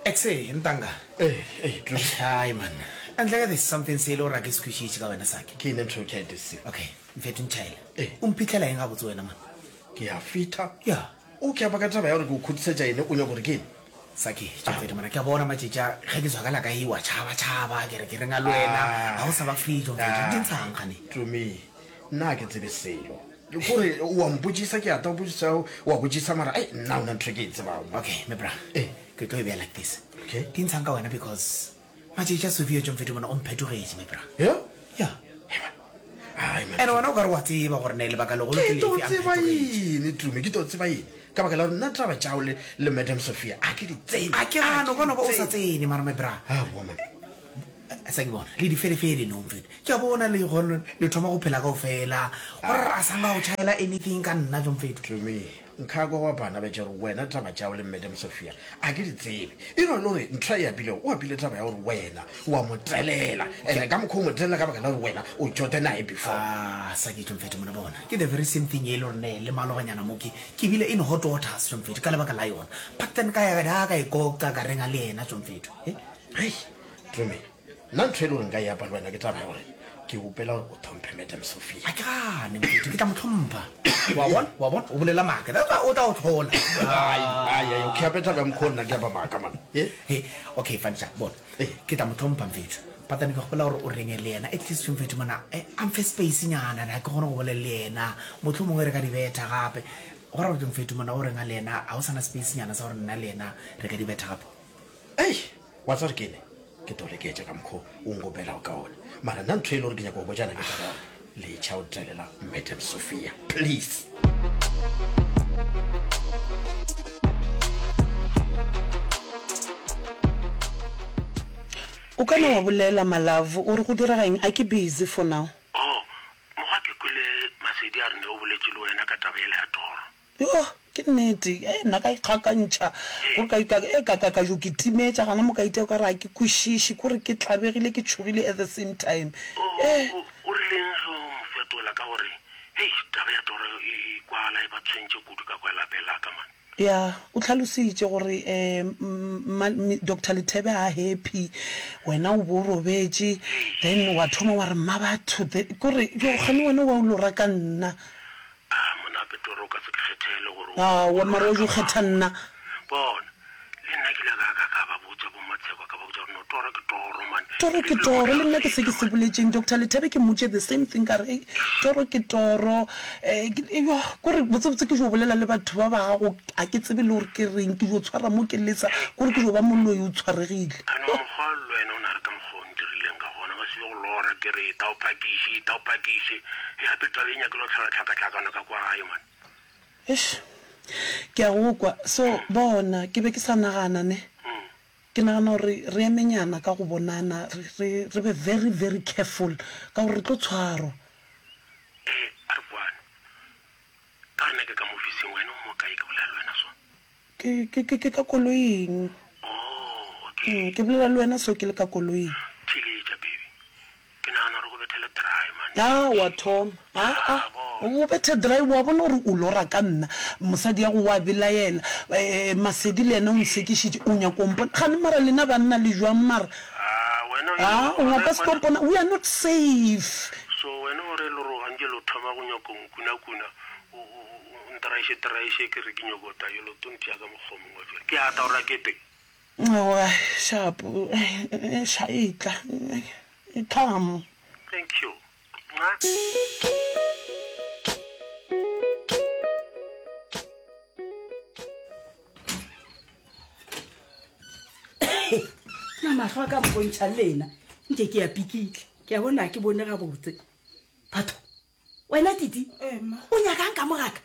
Exe, ntanga. Ee, ee, Tloši. Hai man. Ntle ka there's something se e le gore a ke se kwešiše ka wena Saki. Ke eng ntho eo ke a e deseng? Okay, mfethu ntšhaela. Ee. O mphitlhela eng gabotse wena man? Ke a fitha. Ya. O ke apa ka taba ya gore ke o khutisetša ene o nyaka gore ke eng? Saki, tšo mfethu mara ke a bona matšatši a ge ke zwakala ka ewa tšhaba tšhaba ke re ke reng a le wena ga o sa ba free tšo mfethu di ntshang gane. Tumi, nna ga ke tsebe selo. Kore o a mpotšisa ke a ta o botšisa o a botšisa mara ai nna ona ntho e ke e tsebago. Okay, me bra. Ee. Ke tlo e beya like this. Okay. Di ntshang ka wena because matšatši a Sophia tšo mfethu mona o mphetogetše me bra. Yeah? Yeah. Ai man. And wena o ka re wa tseba gore ne lebaka legolo ke Ke tlo lefe a tseba mphetogetše. eng Tumi, ke tlo tseba eng? Ka baka la gore nna taba tšao le le Madam Sophia a ke di tsene. A ke gane o ka no ba o sa tsene mara me bra. Aowa man. Sa ke bona le diferefere no mfethu. Ke a bona le go le thoma go phela kaofela. Gore a sa nka go tšhaela anything ka nna jo mfethu. Tumi, nka kwa wa bana betše gore wena taba tšao le Madam Sophia a ke di tsebe. E no le gore ntho a e apilego o apile taba ya gore wena wa mo telela and ka mokgwa o mo telela ka baka la gore wena o tšote naye before. Ah, sa ke tšo mfethu mona bona. Ke the very same thing e le gore ne le malobanyana mo ke ke bile in hot waters tšo mfethu ka lebaka la yona. But then ka ya ka e koka ka renga le yena tšo mfethu. Eh? Hei, Tumi, nna ntho e le gore nka e apa le wena ke taba ya gore ke opela gore o tlhomphe Madam Sophia. A ke gane, mfethu, ke tla mo tlhompha. Wa bona, wa bona, o bolela maaka. That's why o tla o tlhola. Ai, ai, ai, okay, ape taba ya mokgwa o nna ke apa maaka, man. Eh? Hey, okay, fine, sha, bona. Eh. Ke tla mo tlhompha, mfethu. But then ke gopola gore o renge le yena. At least, mfethu, mona, eh, a mfe space nyana, na ke kgone go bolela le yena. Mohlomongwe re ka di betha gape. Go ra gore, mfethu, mona o renga le yena, ga o sana space nyana sa gore nna le yena re ka di betha gape. Ei, wa tseba gore ke ene? Ke tlo leketša ka mokgo o nkopelago ka ona. Mara nna ntho e le gore ke nyaka go botšana ke taba ya gore letšha o telela Madam Sophia, please. O ka no wa bolela, my love, o re go direga eng? A ke busy for now. Oh, mokgwa ke kwele Masedi a re ne o boletše le wena ka taba yela ya toro. Yoh, ke nnete. Hei, nna ka ikgakantšha, gore ka, ka, e, ka, ka, ka jo ke timetša gana mo ka itia o ka re ga ke kwešiše, kore ke tlabegile, ke tšhogile at the same time. O, Eh. o, o rileng ge o mo fetola ka gore, Hei, taba ya toro e, e kwala e ba tshwentše kudu ka kwa lapeng la ka, man. Ya, o hlalositše gore, eh, mma, Doctor Lethebe ga a happy, wena o bo o robetše, then wa thoma wa re mmabatho, the, kore, jo, kgane wena wa o lora ka nna. A mona Petoro o ka se ke kgethele gore o Aowa, mara o jo kgetha nna. Bona, le nna ke ile ka ka ka ba botša bo Matsheko, ka ba botša gore no toro ke toro man. Toro ke toro, le nna ke se ke se boletšeng. Doctor Lethebe ke mmotše the same thing ka re, hei, toro ke toro. Eh, ke, yoh, kore botsebotse ke jo bolela le batho ba ba gago, ga ke tsebe le gore ke reng, ke jo tshwara mo ke lesa, kore ke jo ba moloi o tshwaregile. Ano mokgwa le wena o na re ka mokgwa o ntirileng ka gona, ba se be go lora ke re eta o phakiše, eta o phakiše. Hei gape taba e nyakile go tlhola tlhakatlhakano ka kwa gae man. Eish, ke a go kwa. So, bona, ke be ke sa nagana ne. Ke nagana gore re emenyana ka go bonana, re, re, re be very, very careful, ka gore re tlo tshwarwa. Ee, a re kwane. Ka gore nna ke ka mo ofising, wena o mo kae ke bolela le wena so? Ke, ke, ke, ke ka koloing. Oh, okay. Mm, ke bolela le wena so ke le ka koloing. Theeletša, baby. Ke nagana gore go bethele dry, man. A, wa thoma. A, a. O bethe dry, wa bona gore o lora ka nna. Mosadi ya go wa belaela. Eh, Masedi le yena o nsekišitše. O nyaka o mpona. Gane mara lena banna le jwang mara? A, wena o A, o ka se tlo mpona. We are not safe. So wena o re loroga nke lo thoma go nyaka go nkunakuna. O, o, o, o ntraiše traiše ke re ke nyoko ta yo lo to ntšea ka mokgwa o mongwe bjale. Ke a ta gore a kete. Aowa, shapo, ša etla, come. Thank you. Mwah. Na mahlo a ka mpontšha lena nke ke ya pikitla ke a bona ke bone gabotse batho wena titi o nyakang ka mogaka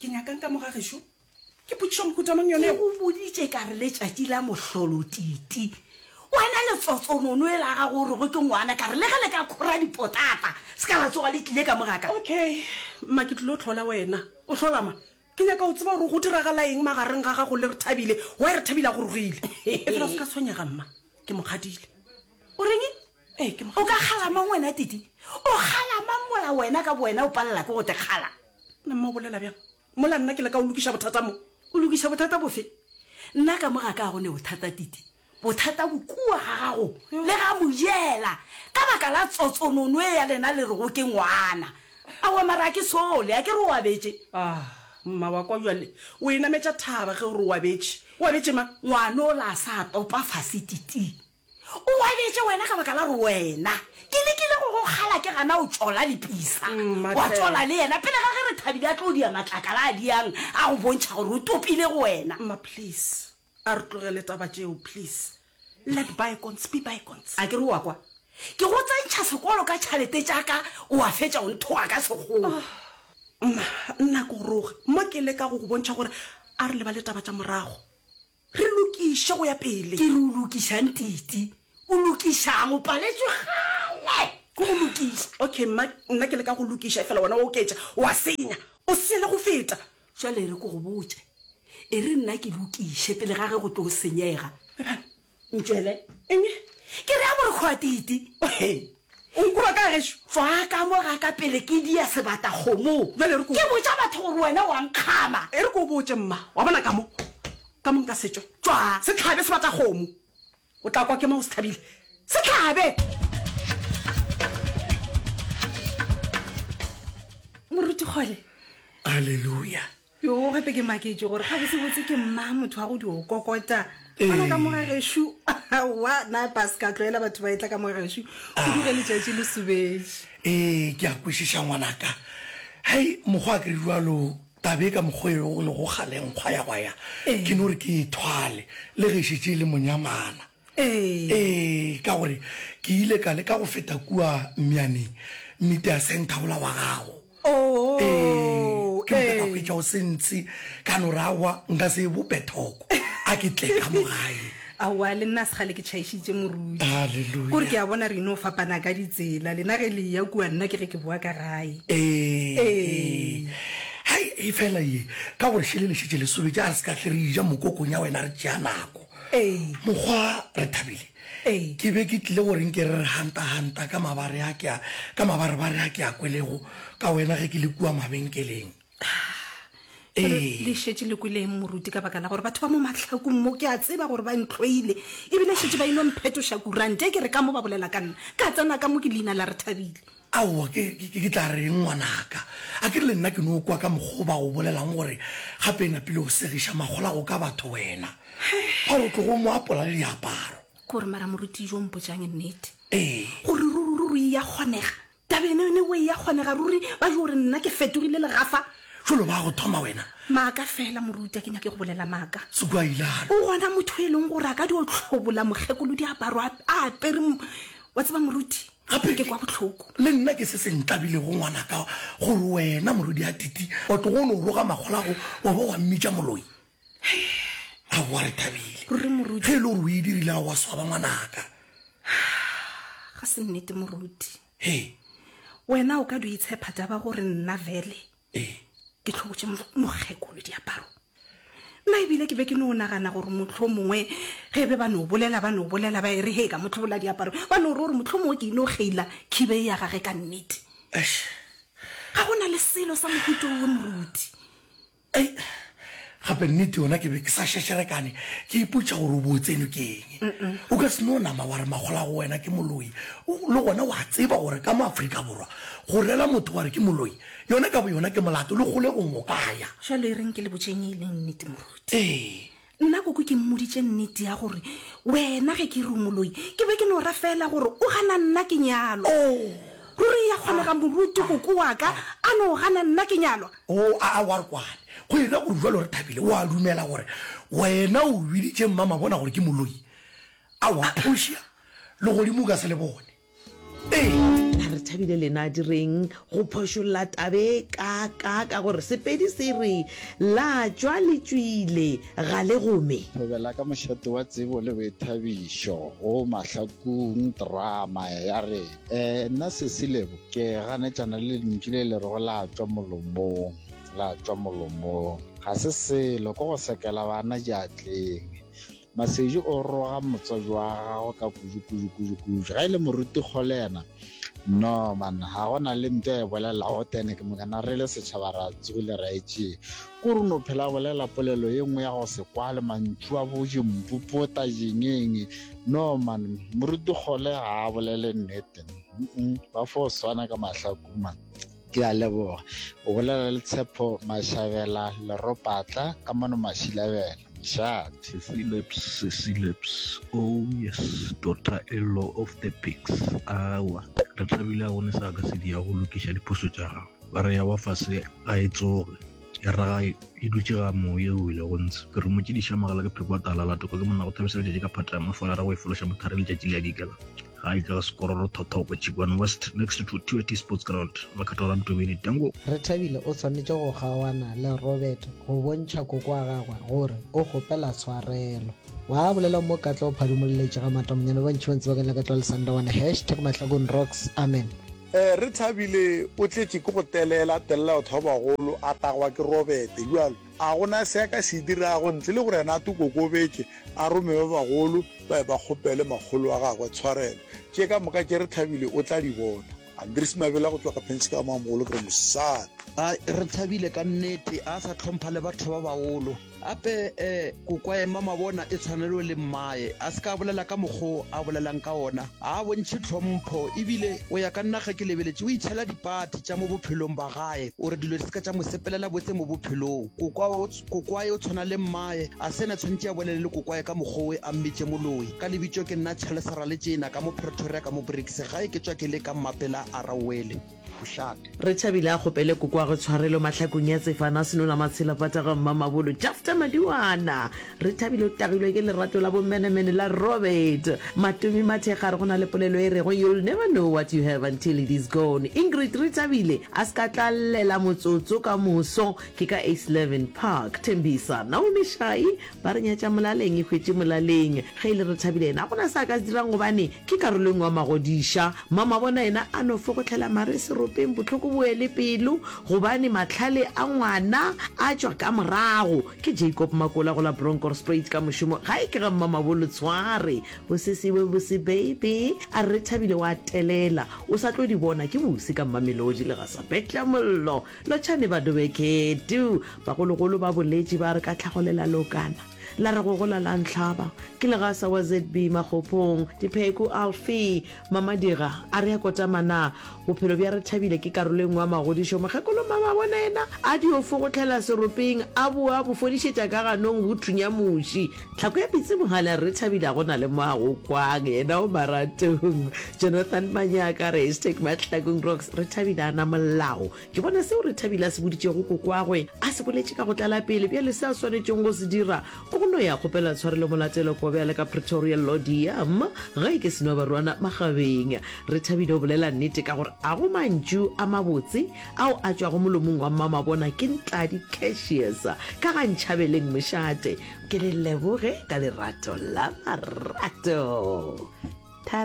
Ke nyakang ka mo ga gešo? Ke potšišo mohuta mang yone Ke eo? go boditše ka re letšatši la mohlolo Titi. Wena letsotsonono e la gago o rego ke ngwana ka re le ge le ka khora dipotata se ka la tsoga le tlile ka mo ga ka. Okay, mma ke tlilo hlola wena. O hlola ma? Ke nyaka go tseba gore go diragala eng magareng ga gago le Rethabile. Why Rethabile a go rogile? Efela o se ka tshwenyega mma, ke mo kgadile. O reng? Ee, ke mo O ka kgala mang wena Titi? O kgala mang mola wena ka bowena o palela ke go te kgala? Na mma o bolela bjang mola nna ke leka go lokiša bothata mo? O lokiša bothata bofe? Nna ka mo ga ka go ne bothata Titi. Bothata bo kua ga gago le ga Mojela ka baka la tsotsonono e ya lena le rego ke ngwana. Aowa mara a ke sole, a ke re o abetše. Ah, mma wa kwa bjale o e nametša thaba ge o re o abetše. O abetše mang? Ngwana ola a sa topa fase Titi. O abetše wena ka baka la gore wena ke lekile go go kgala ke gana o tšola lepisa. Wa tšola le yena pele ga ge Rethabile a tlo dia matlakala a diang a go bontšha gore o topile go wena. Mma please. A re tlogele taba tšeo please. Let bygones be bygones. A ke re o a kwa? Ke go tsentšha sekolo ka tšhalete tša ka, o a fetša o nthoga ka sekgowa. Mma, nna ke go roge. Mo ke leka go go bontšha gore a re lebale taba tša morago. Re lokiše go ya pele. Ke re o lokišang Titi? O lokišang? O paletšwe kgale ke go lokiša. Okay mma, nna ke leka go lokiša efela wena wa oketša, wa senya. O senya le go feta. Jwale e re ke go botše, e re nna ke lokiše pele ga ge go tlo senyega. Ntšwele. Eng? Ke re a borokgwatiti. O nkuba ka gešo? Tswaa ka mo ga ka pele ke dia sebata kgomo. Jwale e re ke. Ke botša batho gore wena wa nkgama. E re ke o botše mma, wa bona ka mo, ka mo nka se tšwe. Tswaa. Se hlabe sebata kgomo. O tla kwa ke mo o se thabile. Se hlabe! Moruti Kgole. Aleluya. Yo gape ke maketše gore gabotsebotse ke mma motho wa go di o kokota. Gona ka mo ga gešo. Aowa na pa se ka tlwaela batho ba etla ka mo gešo. Kudu ge letšatši le sobetše. Ee, ke a kwešiša ngwanaka. Hei, mokgwa a ke re bjalo Taba e ka mokgwa e go lego kgale nkgwa ya gwa ya, ke no re ke e thwale le ge e šetše e le monyamana. Ee, ka gore ke ile ka leka go feta kua Mmianeng, media centre wola wa gago. Ee, ke moka ka hwetša o se ntshe, ka no re aowa nka se e bope thoko, a ke tle ka mo gae. Aowa, le nna segale ke tšhaišitše moruti. Hallelujah. Kore ke a bona re ino fapana ka ditsela. Lena ge le eya kua, nna ke ge ke boa ka gae. Ee, ee. Hai, efela ye, ka gore šele le šetše le sobetše, a re se ka hle re eja mokokong ya wena re tšea nako. Ee. Mokgwa, re thabile. Ee. Ke be ke tlile gore nke re re hanta-hanta ka mabare a ke a, ka mabarebare a ke a kwelego ka wena ge ke le kua mabenkeleng. Ee. Le šetše le kwele eng moruti ka baka la gore batho ba mo mahlakong mo ke a tseba gore ba ntlhoile ebile šetše ba ino mphetoša kurante e ke re ka mo ba bolela ka nna ka tsena ka mo ke leina la re thabile. Aowa ke, ke, ke tla reng ngwanaka? A ke re le nna ke no kwa ka mokgwa o ba go bolelang gore gape e napile o segiša magolago ka batho wena. Ba re o tlogo mo apola le diaparo. Ke gore mara moruti jo mpotšang nnete. Ee. Gore ruri ruri e ya kgonega Taba eno yone o e ya kgonega ruri ba jo re nna ke fetogile legafa. Jalo ba go thoma wena. Maaka fela moruti a ke nyake go bolela maaka. Sukua ilalo. O gona motho e leng gore a ka dio hlobola mokgekolo diaparo a apere wa tseba moruti Gape ke kwa bohloko. Le nna ke se se ntlabilego ngwanaka gore wena morwedi a Titi wa tlogo o no roga magolago wa ba wa mmitša moloi. Aowa re thabile. Ruri moruti. Ge e le gore o e dirile a wa swaba ngwanaka. Ga se nnete moruti. He. Wena o ka dio itshepa taba gore nna vele Ee. ke hlobotše mokgekolo diaparo. Nna ebile ke be ke no nagana gore mohlomongwe ge be ba no bolela ba no bolela ba e re he ka mo hlobola diaparo ba no re gore mohlomongwe ke ino kgeila khibe e ya gage ka nnete. Eish. Ga go na le selo sa mohuta owe moruti. Ei, gape nnete yona ke be ke sa šešerekane ke ipotša gore o bo o tsenwe ke eng. O ka se no nama wa re makgola go wena ke moloi. Le gona wa tseba gore ka mo Afrika Borwa go rela motho wa re ke moloi yona ka boyona ke molato le kgolegong o ka ya. Jwale e reng ke le botšeng e leng nnete moruti. Ee. Nna koko ke mmoditše nnete ya gore wena ge ke re o moloi ke be ke no ra fela gore o gana nna ke nyalwa. Ruri ya kgonega moruti koko wa ka a no gana nna ke nyalwa? O a a wa re kwane. Go ena gore jwalo re thabile o a dumela gore wena o biditše mmamabona gore ke moloi? Aowa Portia, legodimo o ka se le bone. Ee. A re thabile lena di reng go phošolla tabe ka ka ka gore Sepedi se re la tšwa le tšwile ga le gome. Thobela ka mošate wa tsebo le boithabišo go Mahlakung Drama ya re eh nna Sesi Lebo ke ganetšana le lentšu le le rego la tšwa molomong la tšwa molomong ga se selo ke go sekela bana diatleng Masedi o roga motswadi wa gagwe ka kudu kudu kudu kudu. Ga e le moruti Kgole yena. No man, ga go na le nto e bolelago tene ke mokana re le setšhaba ra tsogile ra e tšee. Ko re no phela bolela polelo ye nngwe ya go se kwale mantšu a bo jimpopota jengeng. No man, moruti Kgole ga a bolele nnete. Mm ba fo swana ka mahlaku man. Ke a leboga. O bolela le Tshepo Mashabela Leropatla ka mono Mashilabela. Mošate. Sesi Lips, Sesi Lips, oh yes, daughter-in-law of the pigs. Aowa, re thabile a gone sa ka se dia go lokiša diphoso tša gago. Ba re ya wa fase ga e tsoge, ya raga e dutše ga moye o ile go ntshe. Ke romotše diša magala ke pheko wa tala la toka ke monna go thabisa letšatši ka phata ya mafola ra go e fološa mothare letšatši le ya dikela. Ga e ka sekororo thothoko Chikwane West next to TYT Sports Ground Makgatho la Mtobeni Tango. Rethabile o swanetše go kgaoana le Robert go bontšha koko wa gagwe gore o kgopela tshwarelo. Wa bolela mo Katla o phadimolletše ga Matamonyane ba bantši ba ntse ba ka Katla le Sandawana hashtag Mahlakong rocks amen. Rethabile o tletše ke go telela, telela batho ba bagolo, a tagwa ke Robert bjalo. A go na se a ka se dirago ntle le gore yena a tokokobetše, a rome ba bagolo ba ye ba kgopele makgolo wa gagwe tshwarelo. Tše ka moka tše Rethabile o tla di bona. Andries Mabela go tšwa ka Penska Mamogolo ke re mosadi. A Rethabile ka nnete a sa hlompha le batho ba bagolo. Gape eh kokwae Mamabona e tshwanelo le mmae. A se ka a bolela ka mokgo a bolelang ka ona. Ga a bontšhe tlhompho ebile go ya ka nna ge ke lebeletše o itšhela dipati tša mo bophelong ba gae. O re dilo di se ka tša mo sepelela botse mo bophelong. Kokwae o tshwana le mmae. A se ena tshwanetše a bolele le kokwae ka mokgo we a mmitše moloi. Ka lebitšo ke nna Charles Raletšena ka mo Pretoria ka mo Brits gae ke tšwa ke le ka Mmapela a Rauwele. Mošate. Rethabile a kgopele kokoagwe tshwarelo mahlakong ya Tsefana Senola Matshela Pata ga Mmamabolo Jafta Madiwana Rethabile o tagilwe ke lerato la bomenemene la Robert Matomi Mathekga a re go na le polelo e rego you'll never know what you have until it is gone Ingrid Rethabile a se ka tla llela motsotso ka moso ke ka Eisleben Park Thembisa Naomi Shai Ba re nyatša molaleng e hwetše molaleng. Ge e le Rethabile yena ga go na se a ka se dirang gobane ke karolo e nngwe ya magodiša. Mamabona yena a no fogohlela mare seropeng bohloko bo ele pelo gobane mahlale a ngwana a tšwa ka morago. Ke Jacob Makola go la Bronkhorstspruit ka mošomo gae ke ga Mmamabolo Tshware. Bosese bo bose baby a re Rethabile wa telela o sa tlo di bona ke bose ka Mmamelodi le ga sa betla mollo. Lotšhane badobeketu! Bagologolo ba boletše ba re ka tlhagolela leokana, la re go gola la ntlhaba. Ke legasa wa ZB Makgophong, Dipheku Alfie, Mamadira a re a kotama na bophelo bja Rethabile ke karolo e nngwe ya magodišo. Mokgekolo Mamabona yena a dio fogohlela seropeng a boa bo fodišetša ka ganong bo thunya muši. Tlhako ya pitsi mogale a re Rethabile a go na le mo a go kwang yena o maratong. Jonathan Manyaka a re hashtag Mahlakong Rocks Rethabile a na molao. Ke bona seo Rethabile a se boditšego kokoagwe a se boletše ka go tlala pele. Bjale se a swanetšego go se dira ke go no ya kgopela tshwarelo Molatelo Kobe a le ka Pretoria Lodiam ge ke seno barwana Magabeng. Rethabile o bolela nnete ka gore a go mantšu a mabotse ao a tšwago molomong wa Mmamabona ke Ntladi Cassius ka ga Ntšhabeleng Mošate. Ke le leboge ka lerato la marato.